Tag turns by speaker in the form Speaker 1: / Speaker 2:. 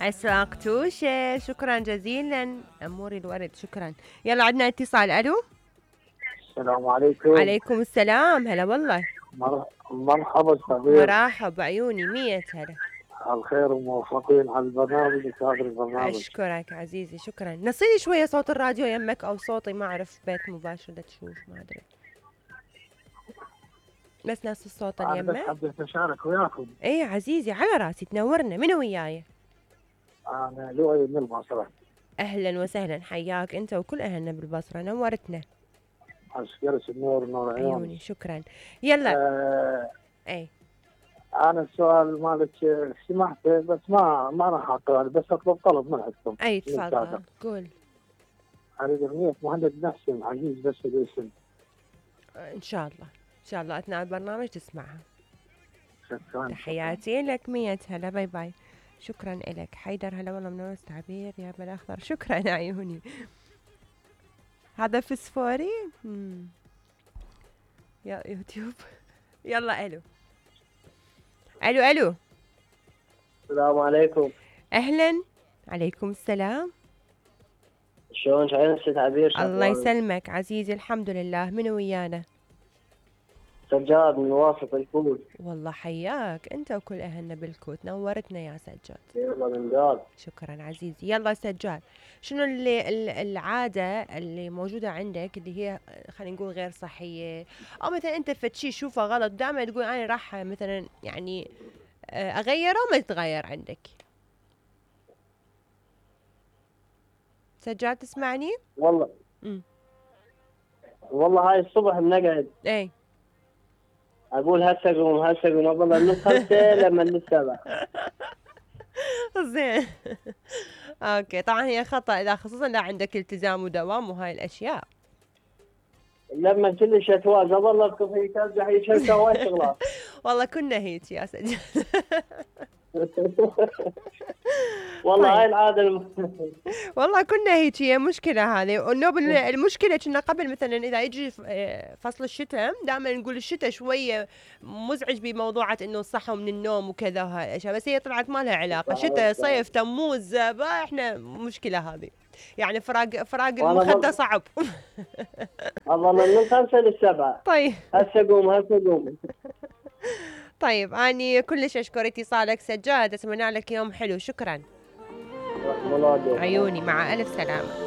Speaker 1: أسواق توشة، شكرا جزيلا أموري الورد، شكرا. يلا عندنا اتصال. ألو.
Speaker 2: السلام عليكم.
Speaker 1: عليكم السلام، هلا والله.
Speaker 2: مرحبا صغير.
Speaker 1: مرحب عيوني، 100 هلا.
Speaker 2: على الخير وموفقين على البرنامج وكادر البرنامج.
Speaker 1: أشكرك عزيزي، شكرا. نصيني شوية صوت الراديو يمك أو صوتي، ما أعرف بيت مباشر لا تشوف، ما أدري. بس نفس الصوت
Speaker 2: أنا
Speaker 1: اليمة.
Speaker 2: بس حبيت أشارك وياكم.
Speaker 1: إيه عزيزي، على راسي، تنورنا. منو وياي؟
Speaker 2: أنا لؤي من البصرة.
Speaker 1: أهلا وسهلا، حياك أنت وكل أهلنا بالبصرة، نورتنا.
Speaker 2: أشكرك النور، نور
Speaker 1: عيوني، شكرا. يلا. إيه.
Speaker 2: أنا السؤال مالك سمعته بس ما راح أقرأ، بس أطلب طلب من عندكم.
Speaker 1: أي تفضل قول.
Speaker 2: أريد أغنية مهند نحسن عزيز بس الاسم.
Speaker 1: إن شاء الله إن شاء الله أثناء البرنامج تسمعها.
Speaker 2: شكرا.
Speaker 1: تحياتي لك، 100 هلا، باي باي. شكرا لك حيدر، هلا والله منور تعبير يا بالأخضر، شكرا عيوني. هذا فسفوري. يا يوتيوب. يلا. ألو. ألو.
Speaker 2: السلام عليكم.
Speaker 1: أهلا. عليكم السلام.
Speaker 2: شلون عينك تعبير؟
Speaker 1: الله يسلمك عزيزي، الحمد لله. من ويانا؟
Speaker 2: سجاد من واسط الكوت.
Speaker 1: والله حياك انت وكل اهلنا بالكوت، نورتنا يا سجاد.
Speaker 2: يلا من دار.
Speaker 1: شكرا عزيزي. يلا سجاد، شنو العاده اللي موجوده عندك اللي هي خلينا نقول غير صحيه، او مثلا انت فتشي شوفه غلط دائما تقول انا راح مثلا يعني اغيره وما تتغير عندك؟ سجاد تسمعني؟
Speaker 2: والله هاي الصبح بنقعد
Speaker 1: اي
Speaker 2: اقول هسه اقوم والله من 5 لما 7.
Speaker 1: زين. اوكي، طبعا هي خطأ اذا خصوصا لا عندك التزام ودوام وهاي الاشياء.
Speaker 2: لما كلش اتواجد والله في ترجع هي شركه وايد شغلات.
Speaker 1: والله كنا هيك يا سجاد.
Speaker 2: والله طيب. هاي العاده
Speaker 1: والله كنا هيك، هي مشكله هذه. المشكله كنا قبل مثلا اذا يجي فصل الشتاء دائما نقول الشتاء شويه مزعج بموضوعات انه صحوا من النوم وكذا وهاي الاشياء، بس هي طلعت ما لها علاقه. شتاء صيف تموز احنا مشكله هذه، يعني فراق المخده صعب.
Speaker 2: والله من 5 ل 7.
Speaker 1: طيب
Speaker 2: هسه اقوم.
Speaker 1: طيب اني كلش اشكر اتصالك سجاد، اتمنى لك يوم حلو. شكرا عيوني، مع الف سلامه.